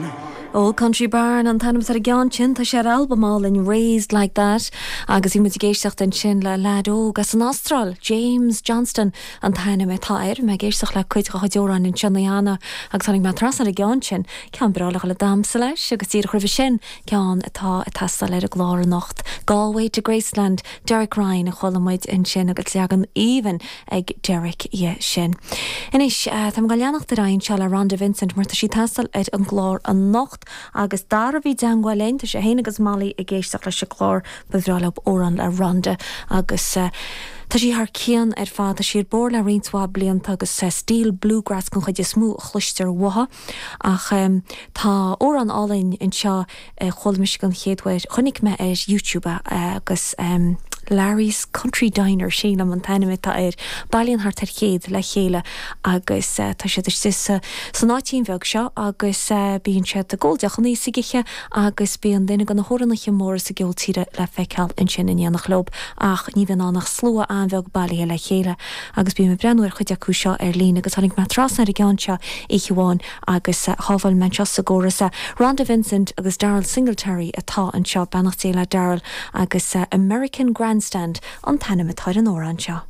Barn. Old Country Barn an t-ainm atá ar an gceann sin. Tá sé ar albam álainn Raised Like That agus bhí muid ag éisteacht ansin le leaid óg as an Astráil, James Johnston an t-ainm atá air. Bhí mé ag éisteacht le cuid dá chuid amhráin anseo cheana agus tháinig mé trasna ar an gceann sin, ceann breá le dhul ag damhsa leis agus díreach roimhe sin, ceann atá ag teastáil ar an gclár anocht, Galway to Graceland, Derek Ryan a chuala muid ansin agus leagan aoibhinn ag Derek dhe sin. Anois, tá mé ag leanacht ar aghaidh anseo le Rhonda Vincent mar tá sí ag teastáil ar an gclár anocht agus Dara a bhí i dteangmháil linn, tá sé féin agus Molly ag éisteacht leis an gclár, ba bhreá leo amhrán le Rhonda agus tá sí thar cionn ar fad, tá sí ar bord le roinnt mhaith blianta agus stíl bluegrass den chuid is mó a chloistear uaithi ach tá amhrán álainn anseo a chuala mise den chéad uair, chonaic mé ar YouTube é agus Larry's Country Diner, sílim, an t-ainm atá air. Bailíonn thart ar chéad le chéile agus tá siad istigh sa san áitín bheag seo agus bíonn siad ag ól deochanna is ag ithe agus bíonn duine de na hamhránaithe móra sa gceol tíre le feiceáil ansin in éineacht leo ach ní bhíonn ann ach slua an-bheag bailithe le chéile agus bím ag breathnú ar chuid acu seo ar líne agus tháinig mé trasna ar an gceann seo oíche amháin Agus shábháil mé anseo sa gcóras é. Rhonda Vincent agus Daryle Singletary atá anseo, beannacht Dé le Daryle, agus American Grandstand an t-ainm atá ar an amhrán seo.